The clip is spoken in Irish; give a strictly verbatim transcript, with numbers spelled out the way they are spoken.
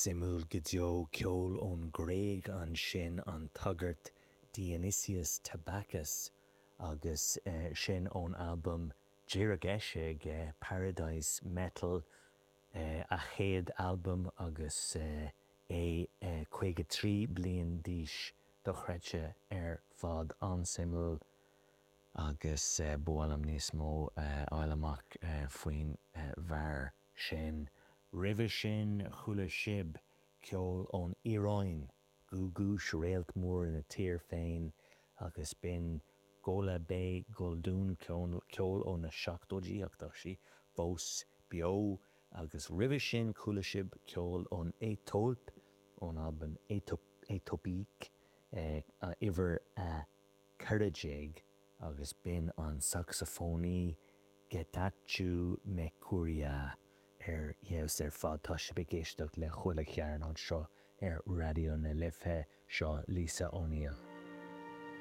Suimiúil go deo ceol ón Ghréig ansin an tagairt Dionysius Tabakis agus sin ón albam díreach eisithe Paradise Metal a chéad albam agus é caoga trí bliain d'aois dochreidte ar fad an-suimiúil agus ba mhaith liom níos mó a fháil amach faoin bhfear sin. Roimhe sin chuala sibh ceol ón Iaráin, Googoosh réalt mór ina tír féin agus b'in Golabay Goldoon ceol ó na seachtóidí ach tá sí fós beo agus roimhe sin chuala sibh ceol ón Aetóip ón albam Aetopique uimhir a ceithre déag agus b'in an sacsafónaí Getachew Mekuria ar fheabhas ar fad tá sibh ag éisteacht le chuile chearn anseo ar Raidió na Life seo Lisa O'Neill.